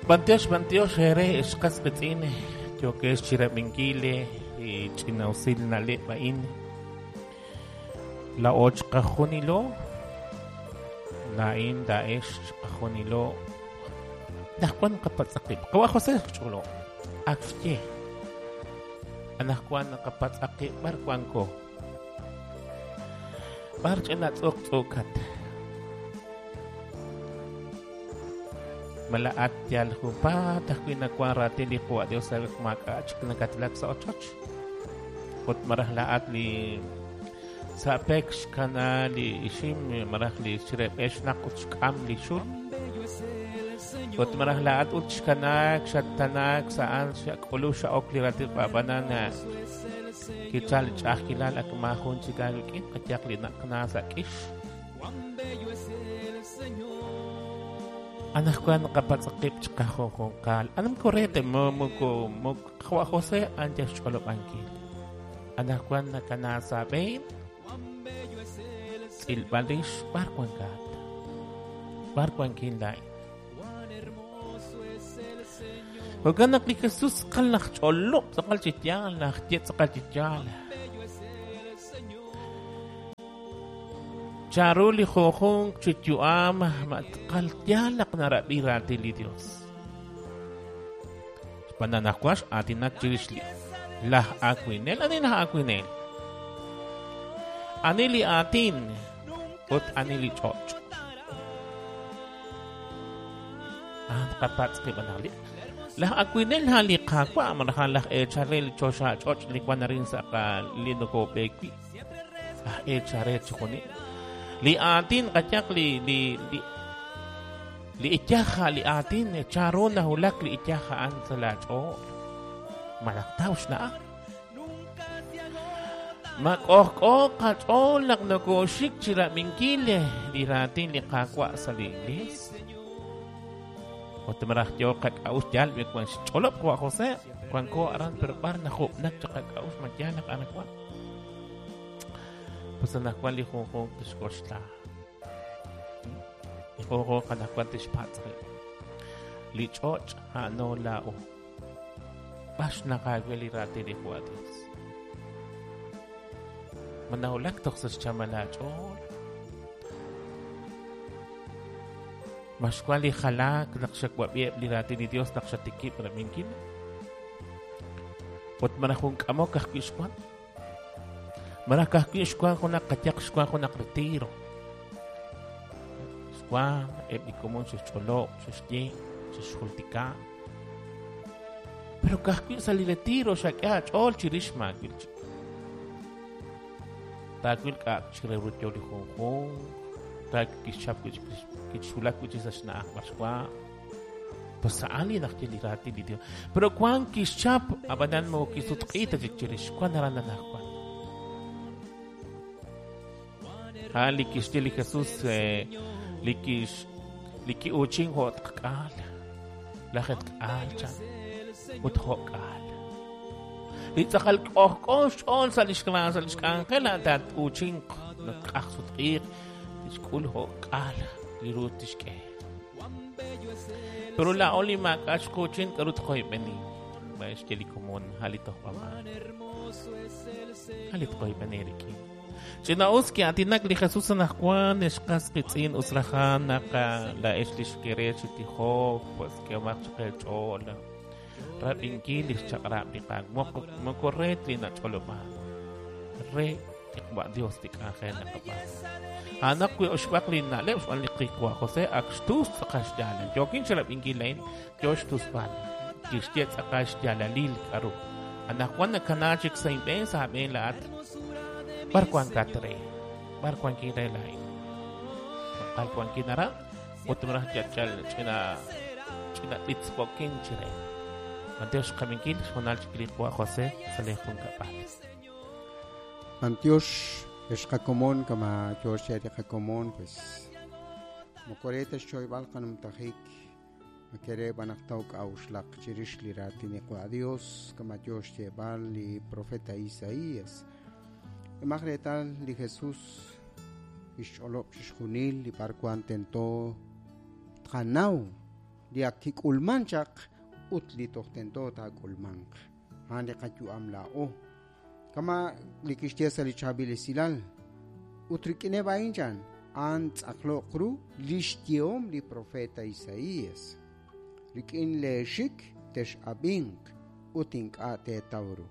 B'antiox, b'antiox eere ex qas qiitz'in yookex chirab'inkil li ch'ina'usil na'leb' a'in. Laa'o chiqajunilo, laa'in, laa'ex chiqajunilo, anaqwan naqapatz' qib'. Qawa' José xch'olob', ak xye. Anaqwan naqapatz' qib' b'ar wanko. B'ar ch'ina tz'uq tz'ukat. Ma laa'at yal junpaat ajwi' nawank raatin li Qawa' Dios sa' maak'a' chik nakatlak sa' ochoch. Ut malaj laa'at li sa' pek xkana li ixim malaj li xreb'e xnaq ut xk'am li xul. Ut malaj laa'at ut xkanaak xattanaak sa'an xak'ulu xa'ok li raatin ab'anan kichal li ch'a'ajkilal ak maajun chik aawik'in qayaq li naqna sa' k'ix. Anaqwan naqapatz' qib' chiqajunjunqal. Anam korete mo moko moko Qawa' José ancha xch'olob'ankil. Anaqwan nakana sa' b'een tz'ilb'al rix b'ar wankat. B'ar wankin laa'in. Jo'kan naq li Jesús tz'aqal naj ch'olob' tz'aqal chi yaal, naj ye tz'aqal chi yaal. Chanru li junjunq chi yu'am ma tz'aqal yaal naq narab'i raatin li Dios. Xb'aan naq anaqwan x'aatinak chirix li laj awinel. Ani laj awinel? Ani li aatin ut ani li ch'och'? A'an qapatz' qib' anaq li laj awinel a'an li Qaawa' malaj a'an laj eechal re li choxa ch'och' li wan arin sa' qa li nokob'eek wi'. Laj eechal re chixjunil. Li aatin qayaq li li li li iyaj a' li aatin chanru nawulak li iyaj a'an sa' laach'ool. Malaj taw xna'aj. Ma k'ojk'o qach'ool naq nokooxik chi rab'inkil li raatin li Qaawa' sa' li iglees. Ut malaj yoo qak'a'uxl yal b'i wan xch'olob' Qawa' José, wanko aran pero b'ar najub'nak chaq qak'a'uxl ma yaal naq aran wan. Pues anaqwan li junjunq tixk'oxla. Li junjunq anaqwan tixpatz' rib'. Li ch'och' a'ano laa'o. B'ar xnaq aawe li raatin li Qawa' Dios. Ma nawulak toj sa' xchamal aach'ool. Ma xwan li jalaak naq xawab'i eb' li raatin li Dios naq xatikib' rab'inkil. Ut malaj jun k'amok ajwi' xwan. Malaj ka'ajwi' xwan junaq qayaq xwan junaq retiro. Xwan eb' li komon xe'xch'olob', xe'xye, xe'xjultika. Pero ka'ajwi' sa' li retiro xak'e aach'ool chirix maawil chik. Taawil k'a' chik re ru yo li junjunq, taawil kixchap wi' chik kixwulak wi' chik sa' xna'aj b'ar xwa'. Pues a'an li naxye li raatin li Dios. Pero wan kixchap, ab'anan moko kisutq'i ta chik chirix, wan aran anaqwan. A'an li kixye li Jesús li kix li ki'uuchin jo' tqk'aal, lajetk'aal chan ut jo'k'aal. Li tz'aqal k'ojk'o xch'ool sa' lix sa' lix k'anjel a'an taa'uuchinq naq k'aj sutq'iiq tixk'ul jo'k'aal li ru tixk'e. Pero laa'o li maak'a' xquuchin k'aru tqoyb'eni. Ma xye li komon a' li tojb'amaak. A' li tqoyb'eni rik'in. Ch'ina'us ki'aatinak li Jesús anaqwan ex qas qiitz'in us rajan naq laa'ex li xkere chi tijok, pues k'ehomaq chaq eech'ool rab'inkil li xchaq'rab' li Qaawa'. Moko re ta li nach'olob'ank, re li Qawa' Dios li k'anjel naqab'aanu. A'anaq wi' oxb'aq li na'leb' xb'aan li Qawa' José ak xtus tz'aqal xyaalal. Yookin chi rab'inkil a'in, yo xtusb'al. Kixye tz'aqal xyaalalil k'aru. Anaqwan nakana chik sa' inb'een sa' aab'een laa'at. B'ar wankat re? B'ar wankin re laa'in? Tz'aqal wankin aran ut malaj yal ch'ina ch'ina b'itzb'okin chire. B'antiox xqab'inkil xhoonal chik li Qawa' José sa' li junkab'al. B'antiox ex qakomon kama yo xye li qakomon pues moko re ta xchoyb'al qanumtajik makere b'an naq taw k'a'uxlaq chirix li raatin li Qawa' Dios kama yo xyeeb'al li profeta Isaías. K'emaq reetal li Jesús kixch'olob' chixjunil li b'arwan tento tqanaw li ak kik'ulman chaq ut li toj tento taak'ulmanq. A'an li qayu'am laa'o. Kama li kixye sa' li chaab'il esilal. Ut rik'ineb' a'in chan, a'an tz'aqloq ru li xyehom li profeta Isaías. Rik'in leexik tex'ab'inq ut ink'a' teetaw ru.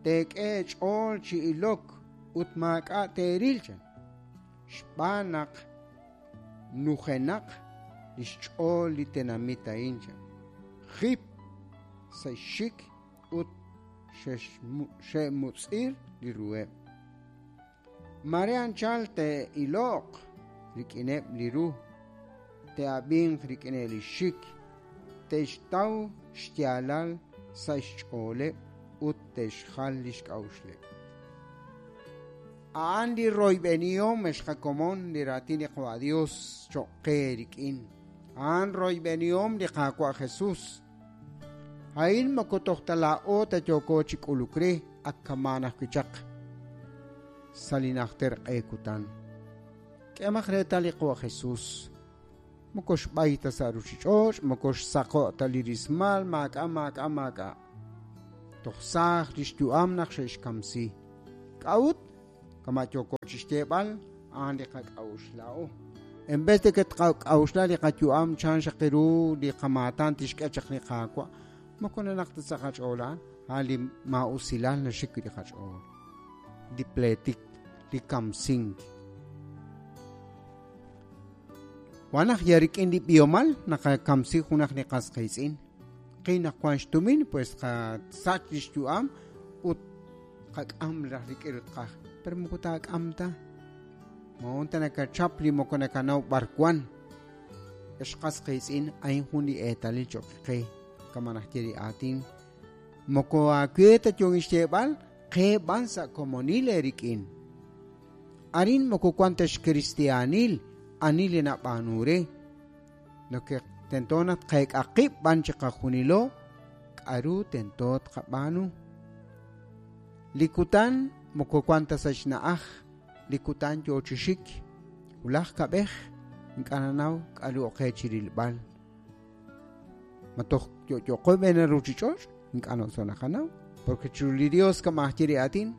Teek'e ch'ool chi ilok ut maak'a' teeril chan. Xb'aan naq nujenaq li xch'ool li tenamit a'in chan. Jip sa' xxik ut xe'mutz'ir li ruheb'. Mare anchal te'iloq rik'ineb' li ru, te'ab'inq rik'ineb' li xik, te'xtaw xyaalal sa' xch'ooleb' ut te'xjal li xk'a'uxleb'. A'an li royb'enihom ex qakomon li raatin li Qaawa' Dios cho'q qe rik'in. A'an royb'enihom li Qaawa' Jesus. A'in moko toj ta laa'o ta yooko chi k'uluk re ak kamaan ajwi' chaq sa' li najter q'e kutan. K'emaq reetal li Qaawa' Jesus. Moko xb'ay ta sa' ruuchich'och', moko xsaqo' ta li rismal, maak'a' maak'a' maak'a'. Toj saaj li xyu'am naq xe'xkamsi. K'a'ut? Kama' yooko chi xyeeb'al, a'an li qak'a'uxl laa'o. En vez de que tqak'a'uxla li qayu'am chan xaq ru li qamaatan tixk'e chaq li Qaawa', moko nanaq ta sa' qach'ool a'an, a'an li maa'usilal naxik wi' li qach'ool. Li pleetik, li kamsink. Wan naq ya rik'in li b'ihomal naqakamsi junaq li qas qiitz'in. Qi naq wan xtumin, pues qasach li xyu'am ut qak'am raj rik'in ut qaj. Pero moko taak'am ta. Moon ta nakachap li moko nakanaw b'ar wan. Ex qas qiitz'in a'in jun li eetalil cho'q qe kama naxye li aatin. Moko aawe ta yoon xyeeb'al qe b'an sa' komonil eerik'in. Arin moko wan ta xkristiaanil ani li nab'aanu re. Lo que tento naq tqeek'a qib' b'an chi qajunilo k'a'ru tento tqab'aanu. Li kutan moko wan ta sa' xna'aj, li kutan yoo chi xik, wulaj kab'ej ink'a' nanaw k'a'ru oqe chi rilb'al. Ma toj yo'yoqo b'een ruuchich'och' ink'a' noso naqanaw, porque chiru li Dios kama ajye li aatin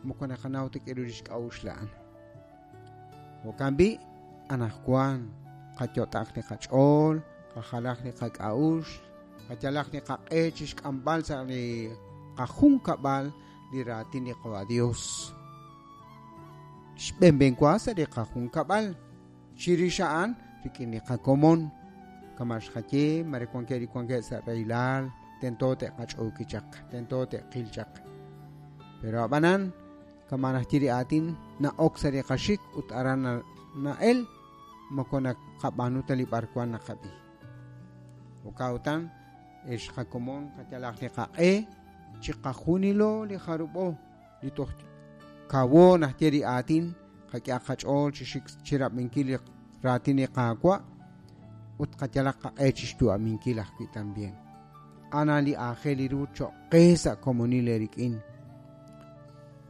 moko naqanaw ta k'a'ru li xk'a'uxl a'an. Jo'kan b'i' anaqwan qayot'aq li qach'ool, qajalaq li qak'a'uxl, qayalaq li qaq'e chi xk'amb'al sa' li qajunkab'al li raatin li Qaawa' Dios. Xb'enb'enwa sa' li qajunkab'al, chirix a'an rik'in li qakomon, kama xqaye mare wankeb' li wankeb' sa' rahilal, tento te'qach'ooki chaq, tento te'qil chaq. Pero ab'anan kama naxye li aatin na'ok sa' li qaxik ut aran na'el moko naqab'aanu ta li b'arwan naqab'i. Jo'kan ex qakomon qayalaq li qaq'e chi qajunilo li jarub'o li toj kawo naxye li aatin qak'e qach'ool chi xik chirab'inkil li raatin li Qaawa' ut qayalaq qaq'e chi xyu'aminkil ajwi' tambien. Ana li aajel li ru cho'q qe sa' komonil eerik'in.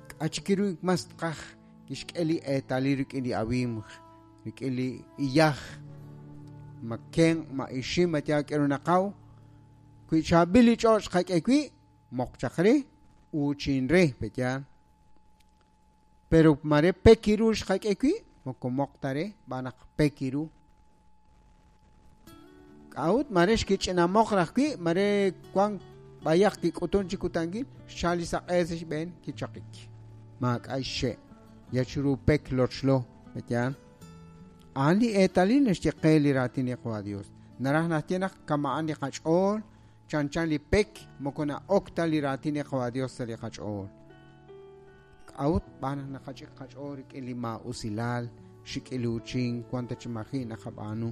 K'achik ru mas tqaj kixk'e li eetalil rik'in li awimj, rik'in li iyaj, ma kenq', ma ixim, ma yaal k'e ru naqaw. Wi chaab'il li ch'och' qak'e wi', moq chaq re, uuchin re, peyaal. Pero mare pekiru xqak'e wi', moko moq ta re, b'an naq pekiru. K'a'ut mare xkich'inamoq raj wi', mare wan b'ayaq kik'utun chi kutankil, xchal li saq'e sa' xb'een kichaqik. Maak'a' xxe', ya chiru pek lochlo, peyaal. A'an li eetalil naxye qe li raatin li Qaawa' Dios. Naraj naxye naq kama'an li qach'ool, chanchan li pek moko na'ok ta li raatin li Qaawa' Dios sa' li qach'ool. K'a'ut b'an naq naqach'ik qach'ool rik'in li maa'usilal, xik'iluuchink, wan ta chi maji' naqab'aanu.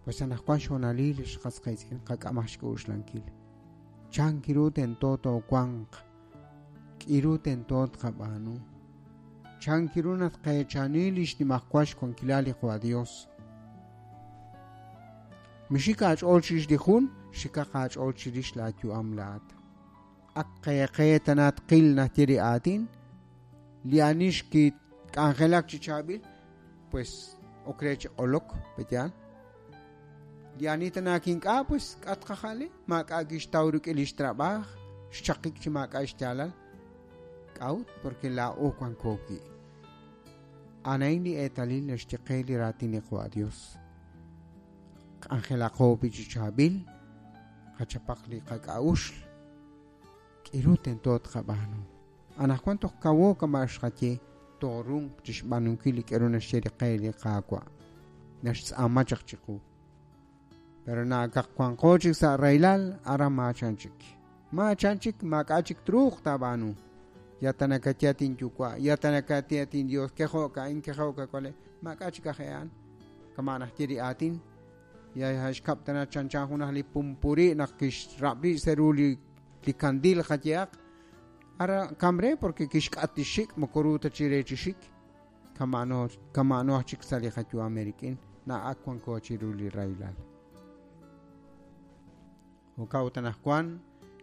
Pues anaqwan xhoonalil li xqas qiitz'in qak'amaj xk'a'uxlankil. Chan kiru tento toowanq, k'iru tento tqab'aanu. Chan kiru naq tqeechani li xnimajwal xwankilal li Qaawa' Dios. Mixik aach'ool chirix li jun, xikaq aach'ool chirix laayu'am laat. Ak qeeqe tana tqil naxye li aatin, li ani xkik'anjelak chi chaab'il, pues Ok re chi q'olok, pe'yaal? Li ani tana kink'a, pues k'a tqaja'le, maak'a' kixtaw rik'in li xtrab'aaj, xchaqik chi maak'a' xyaalal. K'a'ut? Porque laa'o wanko wi'. A'an li eetalil naxye qe li raatin li Qaawa' Dios. K'anjelaqo wi' chi chaab'il, qachapaq li qak'a'uxl, k'iru tento tqab'aanu. Anaqwan toj kawo kama' xqaye, toorunq chi xb'aanunkil li k'aru naxye li qe li Qaawa'. Naxtz'aama chaq chiqu. Pero naakaq wanqo chik sa' rahilal, aran maachan chik. Maachan chik, maak'a' chik truuq taab'aanu. Ya tanakatia tinyuwa', ya tanakatia tindios, kejo'ka, inkejo'ka kwale, maak'a' chik aj e'an. Kama' najye li aatin, ya xkab' tana chanchan junaj li pumpuri naq kixrab'ri' sa' ru li kandil qayehaq. Ara kamre porque kixk'at li xik' moko ru ta chi re chi xik. Kama'no aj chik sa' li qayu'am rik'in, na'ak wanko chiru li rahilal. Jo'kan ut anaqwan,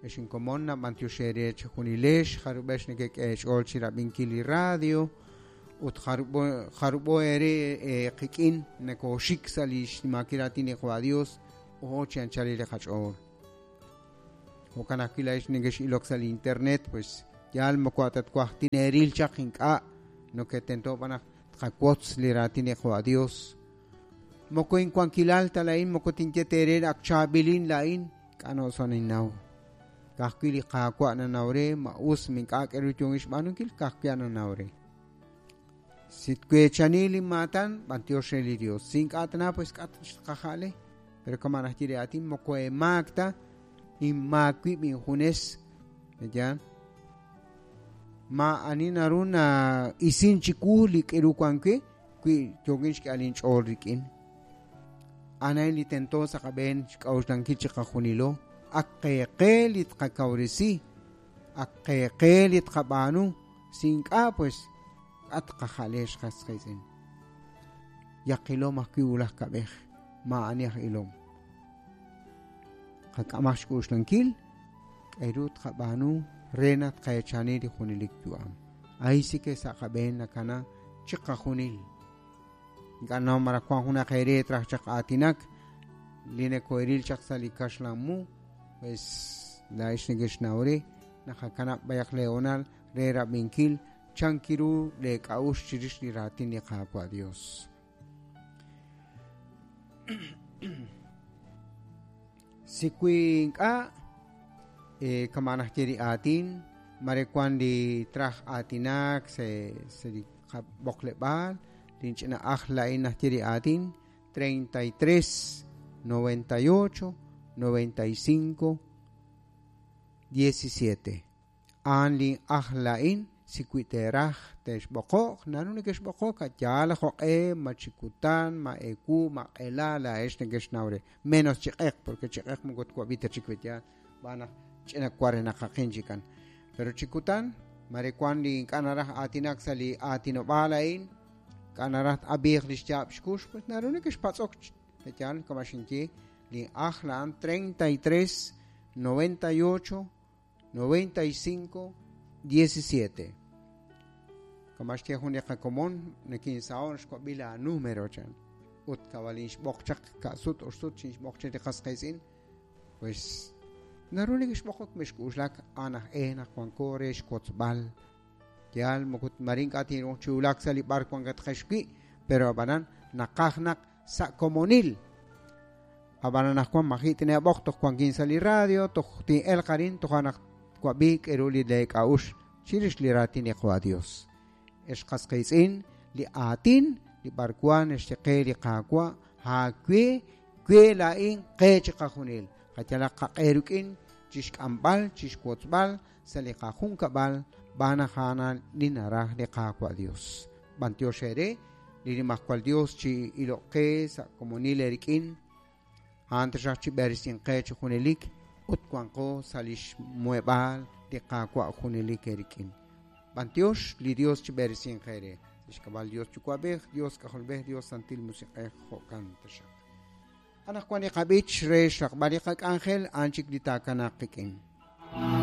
ex inkomon nab'antiox eere chi junilex, jarub'ex nekek'e eech'ool chi rab'inkil li radio, ut jarub'o eere qik'in nakooxik sa' li xnimaakil raatin li Qaawa' Dios, ojo chi anchalil li qach'ool. Jo'kan ajwi' laa'ex nekex'ilok sa' li internet, pues yaal moko atatwaj tineeril chaq ink'a', no que tento b'an naq tqawotz li raatin li Qaawa' Dios. Moko inwankilal ta laa'in, moko tinye teere ak chaab'ilin laa'in, k'ano soninnaw. Ka'ajwi' li Qaawa' nanaw re, ma us mink'a' k'aru yoon xb'aanunkil, ka'ajwi' nanaw re. Si tweechani li maatan, b'antiox re li Dios. Si ink'a' tana, pues k'a' xqaja'le. Pero kama' najye li aatin, moko emaak ta, inmaak wib' injunes. Ya. Ma ani naru na isin chiwu li k'aru wan wi', wi yookin xk'ehal inch'ool rik'in. Anay li tento sa' qab'een xk'a'uxlankil chi qajunilo, ak qeeqe li tqakawresi, ak qeeqe li tqab'aanu, si ink'a', pues k'a' tqaja'le xqas qiitz'in. Yaqilom ajwi' wulaj kab'ej, maa'ani aj ilom. Qak'amaj xk'uxlankil, k'aru tqab'aanu re naq tqaechani li junelik yu'am. Ahí sí que sa' qab'een nakana chi qajunil. Ink'a' naw maraj wan junaq eere traj chaq aatinak, li nakoeril chaq sa' li kaxlan mu, pues laa'ex nekexnaw re, naqakanab' b'ayaq leonal re rab'inkil chankiru leek'a'uxl chirix li raatin li Qaawa' Dios. Si wi ink'a', kama' najye li aatin, mare wan li traj aatinak sa' li qab'oqleb'aal, linch'ina ajl laa'in najye li aatin, 33, 98, 95, 17. A'an li ajl laa'in, si wi teeraj te'xb'oqo'q, naru nekexb'oqo'q, yaal jo'q'e, ma chi kutan, ma ewu, ma q'ela, laa'ex nekexnaw re. Menos chi q'eq, porque chi q'eq moko twab'i ta chik yaal, b'an naq ch'ina warenaqaqin chikan. Pero chi kutan, mare wan li ink'a' naraj aatinak sa' li aatinob'aal a'in, ink'a' naraj ab'iiq li xyaab' xkux, pues naru nekexpatz'ok, yaal, kama xinye, li ajl a'an 33, 98, 95, 17. Kama xye jun li qakomon, nekinsaon xwab'i la número chan. Ut kawalin xb'oq chaq ka'sut oxsut chin xb'oq chaq li qas qiitz'in, pues naru nekexb'oqok mixk'uxlak a'an aj e naq wanko re xwotzb'al. Yaal moko marin k'a' tinruuq chi wulak sa' li b'ar wankatqex wi', pero ab'anan naqaj naq sa' komonil. Ab'anan anaqwan maji' tineeb'oq toj wankin sa' li radio, toj tin'elq arin, toj naq twab'i k'aru li leek'a'uxl chirix li raatin li Qaawa' Dios. Ex qas qiitz'in, li aatin li b'arwan naxye qe li Qaawa', aawe, we laa'in qe chi qajunil. Qayalaq qaq'e rik'in chixk'amb'al, chixwotzb'al sa' li qajunkab'al b'an naq a'an li naraj li Qaawa' Dios. B'antiox eere li Nimajwal Dios chi iloq qe sa' komonil eerik'in, a'an taxaq chi b'eresin qe chi junelik ut wanqo sa' li xmuheb'aal li Qaawa' junelik eerik'in. B'antiox li Dios chi b'eresin qe re. Xk'ab'al Dios Yuwa'b'ej, Dios K'ajolb'ej, Dios Santil Musiq'ej, jo'kan taxaq. Anaqwan li qab'ich re xraqb'al li qak'anjel, a'an chik li taakanaq qik'in.